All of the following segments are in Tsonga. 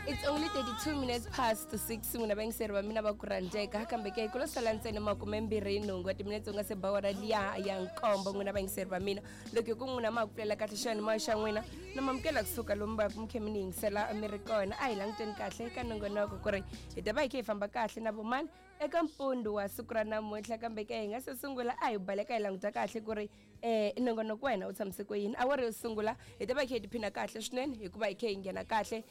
It's only 32 minutes past 6, n'wina vayingiseri va mina va ku rhandzeka. Kambe ke ku lo sala ntsena 28 wa timinetse u nga se ba wara liya ya 7. N'wina vayingiseri va mina, loko hi ku n'wina ma ku pfulela kahle xiyanimoya xa n'wina, na mamukela kusuka lomu va ku mi khe mi ni yingisela mi ri kona. A hi languteni kahle ka nongonoko ku ri hi ta va hi khe hi famba kahle na vomani eka mpundu wa siku ra namuntlha. Kambe ke hi nga se sungula, a hi baleka hi languta kahle ku ri nongonoko wa hina wu tshamise ku yini. Awara yo sungula hi ta va hi khe hi tiphina kahle swinene, hikuva hi khe hi nghena kahle,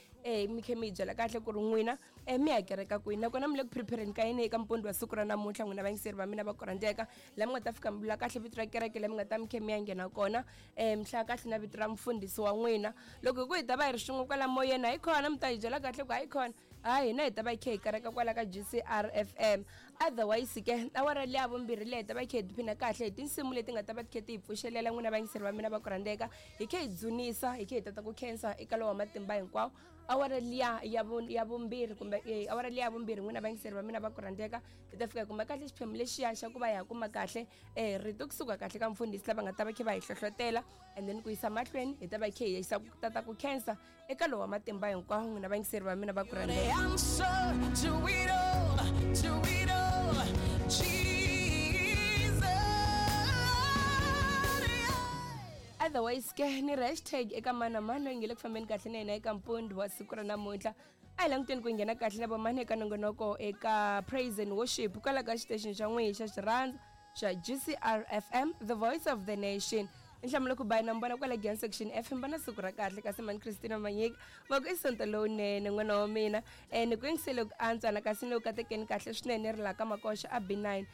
mi khe mi hi byela kahle ku ri n'wina mi ya kereka kwini, nakona mi le ku prepareni ka yini eka mpundu wa siku ra namuntlha. N'wina vayingiseri va mina va ku rhandzeka, laha mi nga ta fika mi vula kahle vito ra kereke leyi mi nga ta mi khe mi ya nghena kona, mi hlaya kahle na vito ra mufundhisi wa n'wina. Loko hi ku hi ta va hi ri swin'we kwala moyeni, hayi khona mi ta hi byela kahle ku hayi khona, hayi hina hi ta va hi khe hi kereka kwala ka GCR FM. Otherwise ke awara liya vumbirhi leyi hi ta va hi khe hi tiphina kahle hi tinsimu leti nga ta va ti khe ti hi pfuxelela. N'wina vayingiseri va mina va ku rhandzeka, hi khe hi dzunisa, hi khe hi tata ku khensa eka lowa matimba hinkwawo. Awara liya ya vumbirhi kumbe awara liya ya vumbirhi, n'wina vayingiseri va mina va ku rhandzeka, hi ta fika hi kuma kahle xiphemu lexiya xa ku va hi ha kuma kahle rito kusuka kahle ka mufundhisi lava nga ta va khe va hi hlohlotela, and then ku yisa mahlweni hi ta va hi khe hi yisa ku tata ku khensa eka lowa matimba hinkwawo. N'wina vayingiseri va mina va ku The answer to it all, to it all, Jesus. Yeah. Otherwise ke ni ri hashtag eka mani na mani loyi nge le ku fambeni kahle na yena eka mpundu wa siku ra namuntlha. A hi languteni ku nghena kahle na vamani eka nongonoko eka praise and worship kwala ka xitexini xa n'wihi xa xirhandza xa GCR FM, the voice of the nation. Nhlamulo ku bayi na mbona kwala Giyani Section F, mbona siku ra kahle. Kasi mani Christina Manyika va ku i sonto lowunene n'wana wa mina, ni ku yingisele ku antswa na kasi ni ku katekeni kahle swinene ri la ka Makoxa a B9.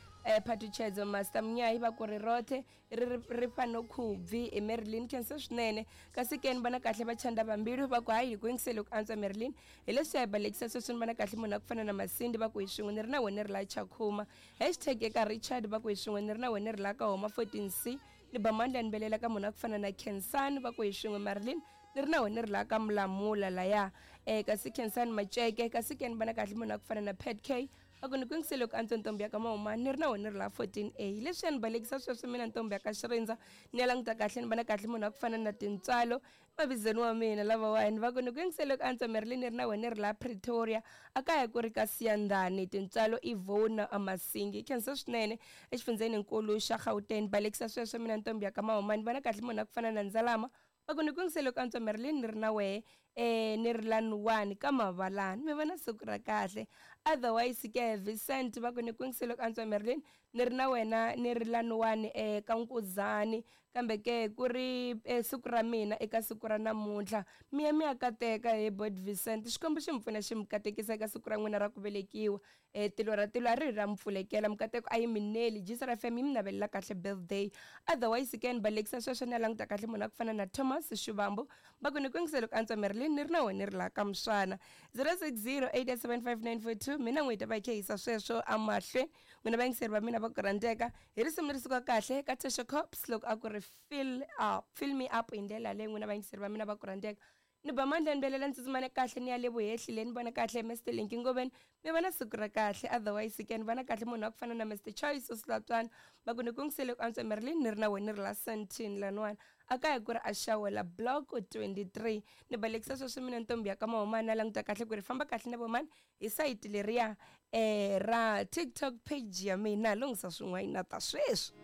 Phatuchedzo Master Munyayi va ku ri rothe ri ri fano khubvi i Marilyn, khensa swinene. Kasi ke ni vona kahle va chanda vambilu va ku hayi hi ku yingisele ku antswa Marilyn, hi leswi ya hi balekisa sweswi. Ni vona kahle munhu a ku fana na Masindi va ku hi swin'we ni ri na wena ri la Chakhuma. Hashtag eka Richard va ku hi swin'we ni ri na wena ri la ka Homa 14C. Ni ba mandla ni belela ka munhu a ku fana na Khensani va ku hi swin'we Marilyn ni ri na wena ri la ka Mulamula laya. Kasi Khensani Maceke. Kasi ke ni vona kahle munhu a ku fana na Pat K va ku ni ku yingisele ku antswa ntombi ya ka Mahumani ni ri na wena ri la 14A. Leswi ya ni balekisa sweswi mina ntombi ya ka Xirindza, ni ya languta kahle ni vona kahle munhu a ku fana na Tintswalo mavizweni wa mina lavawani va ku ni ku yingisele ku antswa Marilyn ni ri na wena ri la Pretoria, a kaya ku ri ka Siyandhani. Tintswalo Ivona Masingi, khensa swinene exifundzeni nkulu xa Gauteng. Balekisa sweswo mina ntombi ya ka Mahumani, vona kahle munhu a ku fana na Ndzalama va ku ni ku yingisele ku antswa Marilyn ni ri na wehe, ni ri la Nuwani ka Mavalani, mi vona siku ra kahle. Otherwise ke Vincent va ku ni ku yingisele ku antswa Marilyn ni ri na wena ni ri la Nuwani, ka Nkuzani. Kambe ke ku ri siku ra mina eka siku ra namuntlha, mi ya mi ya kateka hi Bot Vincent. Xikwembu xi mi pfuna xi mi katekisa eka siku ra n'wina ra ku velekiwa. Tilo ra tilo a ri ra mi pfulekela, mikateko a yi mi neli. GCR FM yi mi navelela kahle birthday. Otherwise ke ni balekisa sweswo ni ya languta kahle munhu a ku fana na Thomas Shivambu va ku ni ku yingisele ku antswa Marilyn ni ri na wena ni ri la ka Muswana. 0608875942, mina n'wi hi ta va hi khe hisa sweswo amahlweni. N'wina vayingiseri va mina va ku rhandzeka, hi risimu leri suka kahle ka Tesha Cops loko a ku ri fill up, fill me up hi ndlela leyi. N'wina vayingiseri va mina va ku rhandzeka, ni ba mandla ni belela ni tsutsumane kahle ni ya le vuhehli le ni vona kahle Mr Linki Ngoveni, mi vona siku ra kahle. Otherwise ke ni vona kahle munhu wa ku fana na Mr Choice Osilatswana va ku ni ku yingisele ku antswa Marilyn ni ri na wena ni ri la Sandton laniwani, a kaya ku ri a xawela block 23. Ni balekisa sweswi mina ntombi ya ka Mahumani, na languta kahle ku ri famba kahle na vomani hi sayiti leriya ra TikTok page ya mina, lunghisa swin'wana ta sweswi.